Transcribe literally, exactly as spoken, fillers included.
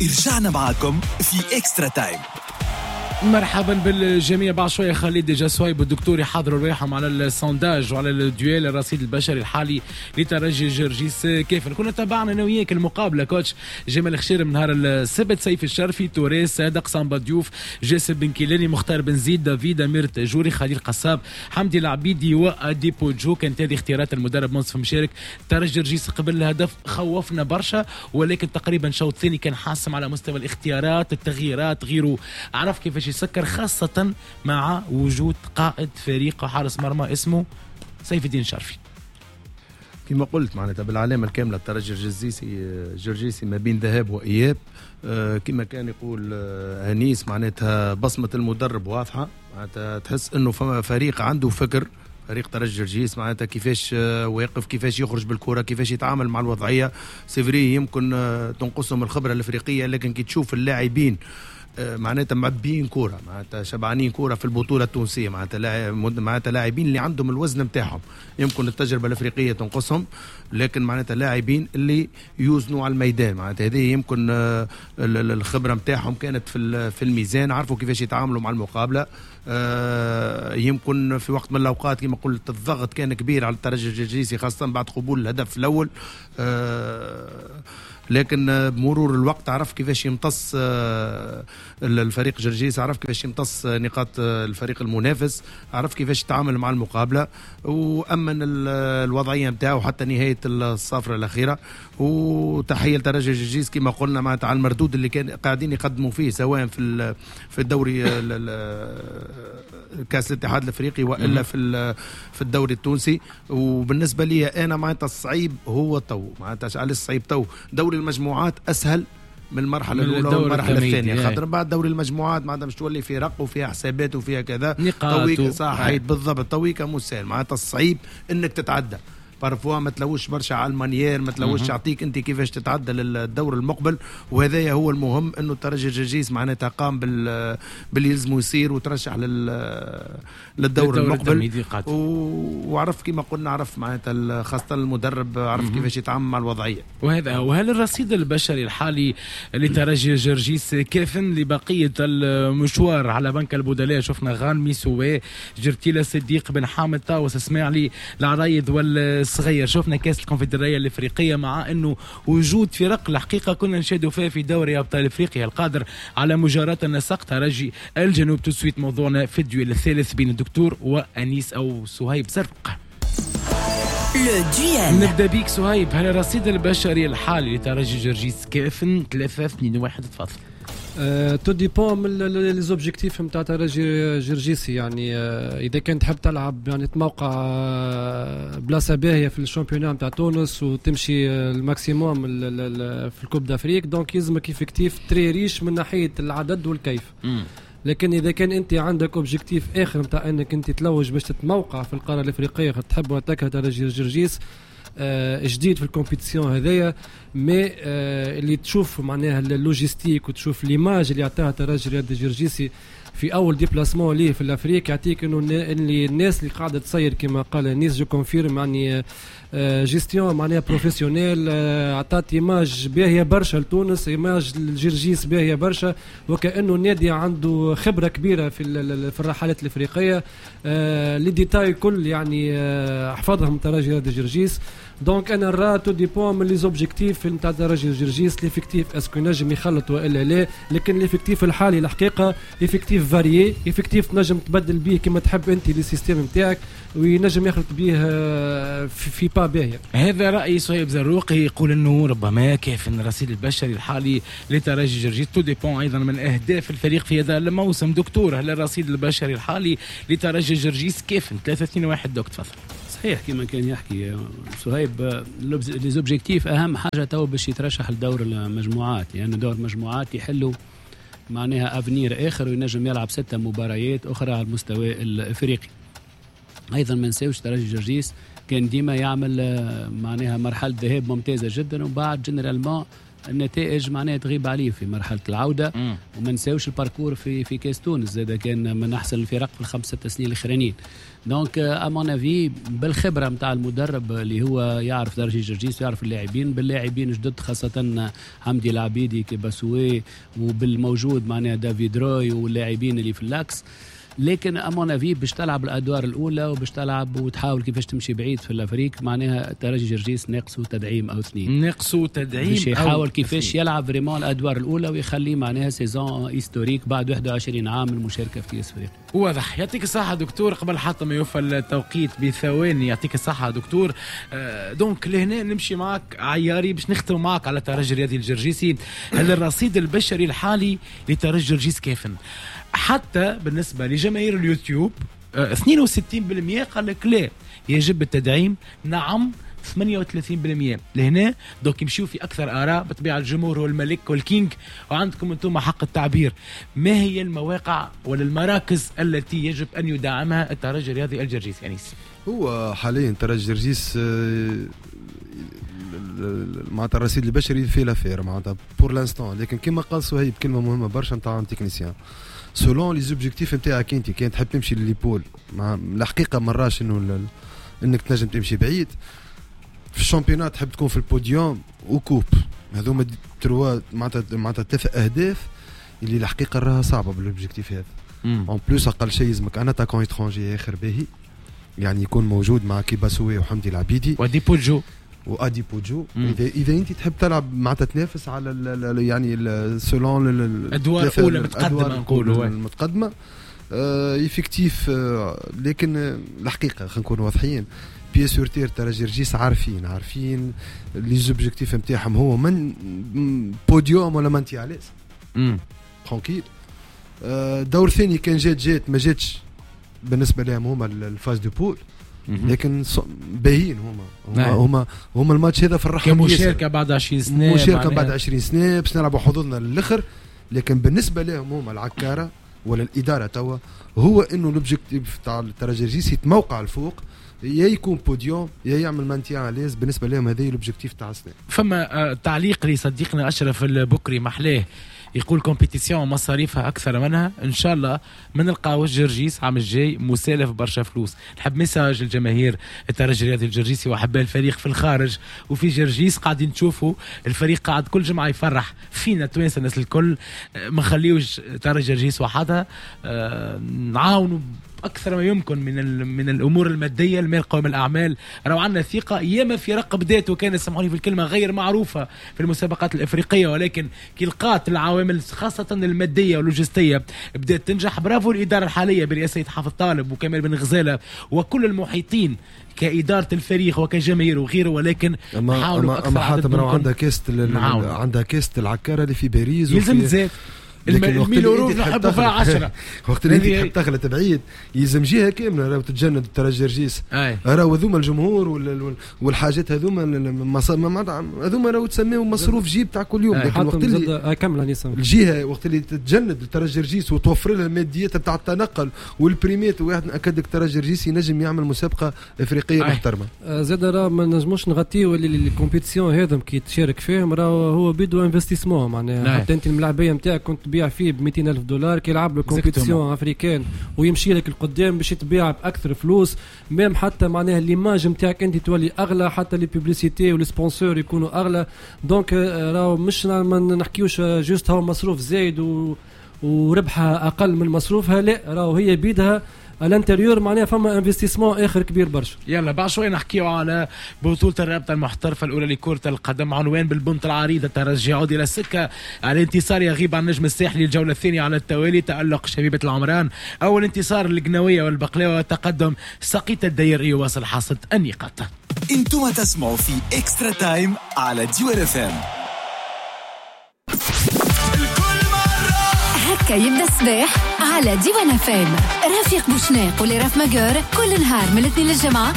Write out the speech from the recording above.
رجعنا معاكم في Extra Time. مرحبا بالجميع. بعد شوية خالد déjà صهيب والدكتور يحضروا رواحهم على ال sondage وعلى ال duel الرصيد البشري الحالي لترجي جرجيس. كيف كنا تابعنا انا وياك المقابله، coach جمال خشير، من نهار السبت: سيف الشرفي، توريس، صادق، سامبا ديوف، جاسم بن كيلاني، مختار بن زيد، دافيد، امير تاجوري، خليل قصاب، حمدي العبيدي وادي بوجو. كانت هذه اختيارات المدرب منصف مشارك. ترجي جرجيس قبل الهدف خوفنا برشا، ولكن تقريبا شوط ثاني كان حاسم على مستوى الاختيارات، التغييرات، غيره، عرف كيفاش يسكر، خاصة مع وجود قائد فريق وحارس مرمى اسمه سيف الدين شرفي. كما قلت معناتها بالعلامة الكاملة الترجي الجرجيسي جرجيسي ما بين ذهاب وإياب. آه، كما كان يقول آه، أنيس، معناتها بصمة المدرب واضحة، معناتها تحس أنه فما فريق عنده فكر، فريق ترجي جرجيس معناتها كيفاش آه، واقف، كيفاش يخرج بالكره، كيفاش يتعامل مع الوضعيه. c'est vrai يمكن تنقصهم الخبرة الافريقيه، لكن كي تشوف اللاعبين آه، معناتها معبيين كوره، معناتها شبعانين كورة في البطولة التونسيه، معناتها معناتها لاعبين اللي عندهم الوزن نتاعهم. يمكن التجربة الافريقية تنقصهم، لكن معناتها لاعبين اللي يوزنوا على الميدان. معناتها هذه يمكن آه، الخبرة نتاعهم كانت في في الميزان، عرفوا كيفاش يتعاملوا مع المقابله. آه، يمكن في وقت من الاوقات كما قلت الضغط كان كبير على الترجي الجرجيسي، خاصة بعد قبول الهدف الاول، لكن بمرور الوقت عرف كيفاش يمتص آه، الفريق جرجيس، عرف كيفاش يمتص نقاط الفريق المنافس، عرف كيفاش يتعامل مع المقابلة وامن الوضعية نتاعو حتى نهاية الصافره الاخيره. وتحية لترجي جرجيس كما قلنا معناتها على المردود اللي كان قاعدين يقدموا فيه، سواء في في الدوري كاس الاتحاد الافريقي والا في في الدوري التونسي. وبالنسبة لي انا معناتها الصعيب هو تو، معناتها علاش الصعيب تو؟ دوري المجموعات اسهل من المرحلة الاولى والمرحلة الثانيه، خاطر بعد دوري المجموعات معناتها مش تولي فرق وفيها حسابات وفيها كذا. نقاط. صحيح، بالضبط. تويكا مش سهل، معناتها الصعيب انك تتعدى. parfois ما تلوش برشا على ال manière، ما تلوش يعطيك انت كيفاش تتعدى للدور المقبل. وهذايا هو المهم، انه الترجي الجرجيس معناتها قام بال باللي يلزمه يصير وترشح لل للدور المقبل و... وعرف كما قلنا، عرف معناتها خاصة المدرب عرف كيفاش يتعامل مع الوضعيه. وهذا وهل الرصيد البشري الحالي لترجي جرجيس كاف لبقية المشوار؟ على بنك البدلاء شفنا غانمي، سوي، جرتيلا، صديق، بن حامد، طاوس، اسماعيلي، العرايض والصغير. شفنا كاس الكونفدراليه الافريقيه، مع انه وجود فرق الحقيقة كنا نشاهدوا فيها في دوري ابطال افريقيا القادر على مجاراة النسق ترجي الجنوب. tout de suite موضوعنا في ال duel الثالث بين الدكتور وانيس او صهيب زرق. le duel. نبدا بيك صهيب، هل الرصيد البشري الحالي لترجي جرجيس كاف؟ ثلاثة اثنين واحد، تفضل. tout dépend من les objectifs نتاع ترجي جرجيسي. يعني آه، اذا كان تحب تلعب يعني تموقع آه، بلاصة باهيه في ال championnat نتاع تونس وتمشي ال maximum في ال Coupe d'Afrique، donc يلزمك effectif très riche من ناحية العدد والكيف. لكن اذا كان انت عندك objectif اخر نتاع انك انت تلوج باش تتموقع في القارة الافريقيه، تحب وتكره ترجي جرجيس آه، جديد في ال compétition هذايا، mais آه، اللي تشوف معناها ال logistique وتشوف l'image اللي عطاها ترجي رياضي جرجيسي في اول déplacement ليه في l'Afrique، يعطيك انه اللي الناس اللي قاعدة تصير كما قال انيس، je confirme، يعني gestion معناها professionnelle، عطات image باهيه برشا لتونس، image الجرجيس باهيه برشا، وكانه النادي عنده خبره كبيرة في في الرحلات الافريقيه. les détails كل يعني حفظهم ترجي رياضي جرجيس. donc انا نرى tout dépend من les objectifs نتاع ترجي جرجيس، l'effectif est-ce que نجم يخلط والا لا. لكن l'effectif الحالي الحقيقة effectif varié، effectif تنجم تبدل به كما تحب انت les systèmes نتاعك وينجم يخلط به آه، في, في pas باهيه. هذا راي صهيب زروقي، يقول انه ربما كيف الرصيد البشري الحالي لترجي جرجيس، tout dépend ايضا من اهداف الفريق في هذا الموسم. دكتور، هل الرصيد البشري الحالي لترجي جرجيس كيف؟ ثلاثة اثنين واحد، دوك تفضل. صحيح كما كان يحكي صهيب، les objectifs اهم حاجة تو باش يترشح لدور المجموعات، لانه يعني دور المجموعات يحلوا معناها avenir اخر وينجم يلعب ستة مباريات اخرى على المستوى الافريقي. ايضا ما نساوش ترجي جرجيس كان ديما يعمل آه، معناها مرحلة ذهاب ممتازة جدا، وبعد généralement النتائج معناها تغيب عليه في مرحلة العودة. مم. وما نساوش ال parcours في في كاس تونس زاد كان من احسن الفرق في الخمس ست سنين الاخرانيين. donc à mon avis بالخبرة نتاع المدرب اللي هو يعرف ترجي جرجيس ويعرف اللاعبين، باللاعبين جدد خاصة حمدي العبيدي كيباسوي، وبالموجود معناها دافيد روي واللاعبين اللي في l'axe. لكن à mon avis باش تلعب الادوار الاولى وباش تلعب وتحاول كيفاش تمشي بعيد في l'Afrique، معناها ترجي جرجيس ناقصه تدعيم او اثنين، ناقصه تدعيم باش يحاول كيفاش يلعب vraiment الادوار الاولى ويخلي معناها saison historique بعد واحد وعشرين عام من المشاركة في كاس افريقيا. واضح. يعطيك الصحة دكتور. قبل حتى ما يوفى التوقيت بثواني، يعطيك الصحة دكتور. آه donc لهنا نمشي معك عياري باش نختم معك على ترجي الرياضي الجرجيسي. هل الرصيد البشري الحالي لترجي جرجيس كيفن؟ حتى بالنسبة لجماهير اليوتيوب اثنين وستين بالمئة قال لك لا يجب التدعيم، نعم ثمانية وثلاثين بالمئة. لهنا donc يمشيو في أكثر آراء، بطبيعة الجمهور هو الملك وال king وعندكم أنتم حق التعبير. ما هي المواقع ولا المراكز التي يجب أن يدعمها الترجي الرياضي الجرجيسي؟ أنيس، هو حاليا ترجي جرجيس معناتها الرصيد البشري في l'affaire معناتها pour l'instant، لكن كما قال صهيب كلمة مهمة برشا نتاع technicien selon les objectifs نتاعك انت، كان تحب تمشي les poules مع الحقيقة ما راش انه انك تنجم تمشي بعيد في ال championnat، تحب تكون في ال podium و coupe، هذوما trois معناتها معناتها ثلاث اهداف اللي الحقيقة راها صعبة بال objectif هذا. en plus اقل شيء يلزمك un attaquant étranger اخر باهي، يعني يكون موجود مع كيباسوي وحمدي العبيدي ودي بوجو وادي بوجو. اذا اذا انت تحب تلعب معناتها تنافس على ال يعني selon الادوار الاولى متقدمة نقولوا المتقدمة effectif. آه لكن الحقيقة خلينا نكونوا واضحين، pieds sur terre ترجي جرجيس عارفين عارفين les objectifs نتاعهم، هو من بوديوم ولا maintien à l'aise tranquille. آه دور ثاني كان جات جات ما جاتش بالنسبة لهم هما ال phase de poules، لكن باهيين هما هما هما, هما الماتش هذا فرحهم كمشاركه بعد عشرين سنة، مشاركة بعد عشرين سنة باش نلعبوا حظوظنا للاخر. لكن بالنسبة لهم هما العكاره ولا الادارة توا هو انه l'objectif تاع الترجي الجرجيسي يتموقع الفوق، يا يكون بوديوم يا يعمل maintien à l'aise. بالنسبة لهم هذا l'objectif تاع السنة. فما تعليق لصديقنا اشرف البكري محلاه، يقول compétition مصاريفها اكثر منها، ان شاء الله ما نلقاوش جرجيس عام الجاي مسالف برشا فلوس. نحب message الجماهير الترجي الرياضي الجرجيسي واحباء الفريق في الخارج وفي جرجيس، قاعدين تشوفوا الفريق قاعد كل جمعه يفرح فينا توانسة الناس الكل، ما نخليوش ترجي جرجيس وحدها، نعاونوا اكثر ما يمكن من من الامور المادية، المال قوام الاعمال. راهو عندنا ثقة ياما فرق بدات وكان سامحوني في الكلمة غير معروفة في المسابقات الافريقية، ولكن كي لقات العوامل خاصة المادية واللوجستيه بدات تنجح. برافو الادارة الحالية برئاسة حافظ طالب وكمال بن غزاله وكل المحيطين كادارة الفريق وكجماهير وغيره، ولكن حاولوا اكثر. اما حاتم راهو عندها كاس عندها كاس العكاره اللي في باريس يلزم تزاد ال mille euros نحبوا فيها عشرة. وقت اللي انت تحب تغلط بعيد يلزم جهة كاملة راهو تتجند الترجي جرجيس، راهو هذوما الجمهور والحاجات هذوما هذوما راهو تسميهم مصروف جيب تاع كل يوم. لكن وقت اللي الجهة وقت اللي تتجند الترجي جرجيس وتوفر لها الماديات تاع التنقل والبريمات، واحد ناكد لك الترجي جرجيس ينجم يعمل مسابقة افريقية محترمه. زاد راه ما نجموش نغطيو les compétitions هذم كي تشارك فيهم، راه هو بيدو investissement معناها. حتى انت الملاعبيه نتاعك كنت تبيع فيه ب مئتين ألف دولار، كي يلعب له compétition africaine ويمشي لك القدام باش يتبيع باكثر فلوس، même حتى معناها l'image نتاعك انت تولي اغلى، حتى les publicités و les sponsors يكونوا اغلى. donc راهو مش ما نحكيوش juste هو مصروف زايد و... وربحها اقل من مصروفها، لا راهو هي بيدها à l'intérieur معناها فما investissement اخر كبير برشا. يلا بعد شوي نحكيو على بطوله الرابطة المحترفه الاولى لكرة القدم، عنوان بالبنط العريض الترجي يعود الى السكة، الانتصار يغيب عن النجم الساحلي الجولة الثانية على التوالي، تالق شبيبة العمران، اول انتصار للقناويه والبقلاوه، تقدم سقيط الدير يواصل حصد النقاط. انتم تسمعوا في Extra Time على ديوان اف ام. هكا يبدا الصباح على ديوان اف ام. رفيق بوشناق ولرف مجور كل نهار من الاثنين للجمعة.